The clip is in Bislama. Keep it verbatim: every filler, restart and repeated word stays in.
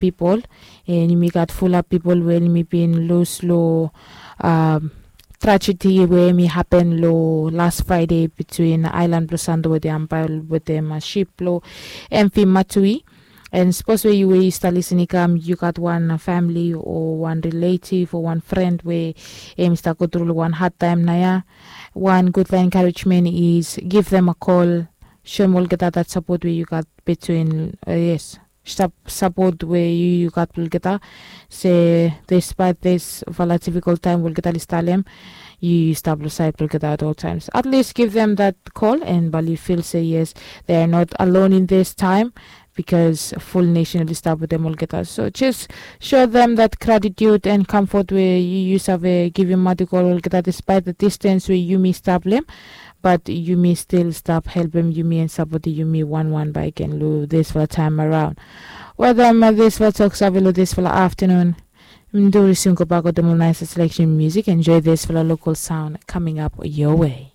pipol, and yumi gat fulap pipol we yumi bin lus long tragedi we mi hapen long las fraide between aelan blong sando wetem ampael wetem ship blong emfi matui. And sapos we yu we yu stap lisin i kam yu gat wan famili o wan riletiv o wan fren we em i stap gotru long wan hadtaem nao ya, wan gudfala enkarejmen is giv them a kol, soem olgeta dat sapot we yu gat between, yes, sapot we yu yu gat blong olgeta, se despait disfala difikol taem we olgeta oli stap long em, yu yu stap long saed blong olgeta at ol taems. At least giv them that kol and bal yu fil se yes, they are not alone in this time, bikos ful nesen oli stap wetem olgeta. So jes show them that gratitude and comfort we yu yu save givimaot i go long olgeta despait the distance we yumi stap long em, bat yumi stil stap helpem yumi and sapotem yumi wanwan bakegen long disfala taem araon. Wetem disfala tok save long disfala aftanun, mi duris yumi gobak wetem ol naes seleksen musik. Enjoy disfala lokal saon kaming ap your way.